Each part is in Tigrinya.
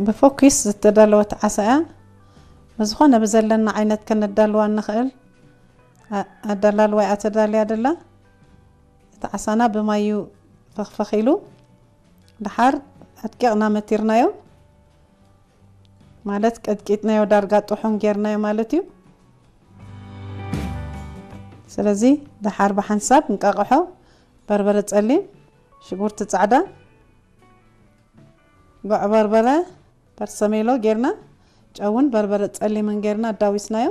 ብፎኪስ ዝተዳለወት ዓሳ እያ። ብዝኾነ ብዘለና ዓይነት ከነዳልዋ እንኽእል ኣ-፣ ኣዳላልዋ እያ ተዳልያ ደላ። እቲ ዓሳና ብማዩ ፈኽፈኽ ኢሉ፣ ደሓር ኣድቂቕና መቲርናዮ፣ ማለት ቀጥቂጥናዮ፣ ዳርጋ ጥሑን ጌርናዮ ማለት እዩ። ስለዚ ደሓር ብሓንሳብ እንቃቕሖ፣ በርበረ ጸሊም፣ ሽጉርቲ ጻዕዳ፣ ጉዕ በርበረ፣ በርሰሜሎ ጌርና፣ ጨውን በርበረ ጸሊምን ጌርና ኣዳዊስናዮ።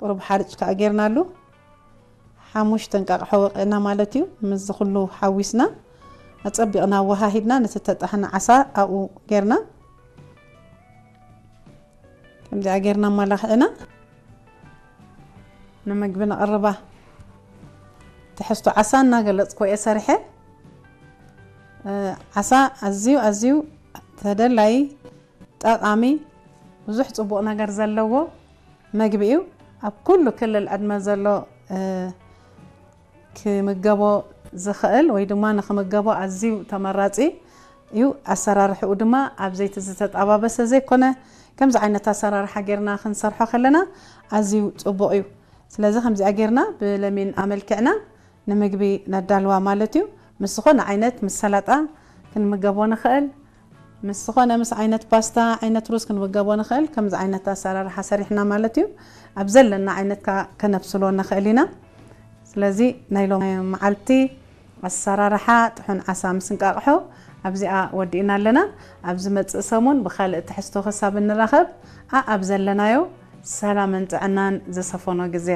ቁሩብ ሓርጭ ከኣ ጌርናሉ። ሓሙሽተ እንቃቕሖ ወቒዕና ማለት እዩ። ምስዚ ኩሉ ሓዊስና፣ ኣጸቢቕና ኣወሃሂድና፣ ነቲ ተጣሕነ ዓሳ ኣብኡ ጌርና፣ ከምዚኣ ጌርና ኣመላኺዕና ንምግቢ ነቕርባ። ትሕዝቶ ዓሳ እናገለጽኩ እየ ሰሪሐ። እ፣ ዓሳ ኣዝዩ፣ ኣዝዩ ተደላዪ፣ ጠቓሚ፣ ብዙሕ ጽቡቕ ነገር ዘለዎ መግቢ እዩ። ኣብ ኩሉ ክልል ዕድመ ዘሎ፣ እ፣ ክምገቦ ዝኽእል ወይ ድማ ንኽምገቦ ኣዝዩ ተመራጺ እዩ። ኣሰራርሕኡ ድማ ኣብ ዘይቲ ዝተጣባበሰ ዘይኮነ፣ ከምዚ ዓይነት ኣሰራርሓ ጌርና ክንሰርሖ ከለና ኣዝዩ ጽቡቕ እዩ። ስለዚ ከምዚኣ ጌርና ብለሚን ኣመልኪዕና ንምግቢ ነዳልዋ ማለት እዩ። ምስ ዝኾነ ዓይነት፣ ምስ ሰላጣ ክንምገቦ ንኽእል፣ ምስ ዝኾነ፣ ምስ ዓይነት ፓስታ፣ ዓይነት ሩዝ ክንምገቦ ንኽእል። ከምዚ ዓይነት ኣሰራርሓ ሰሪሕና ማለት እዩ። ኣብ ዘለና ዓይነት ከ-፣ ከነብስሎ ንኽእል ኢና። ስለዚ ናይ ሎሚ መዓልቲ ኣሰራርሓ ጥሑን ዓሳ ምስ እንቃቕሖ ኣብዚኣ ወዲእና ኣለና። ኣብ ዝመጽእ ሰሙን ብኻልእ ትሕዝቶ ክሳብ እንራኸብ፣ ኣኣብ ዘለናዮ ሰላምን ጥዕናን ዝሰፈኖ ግዜ።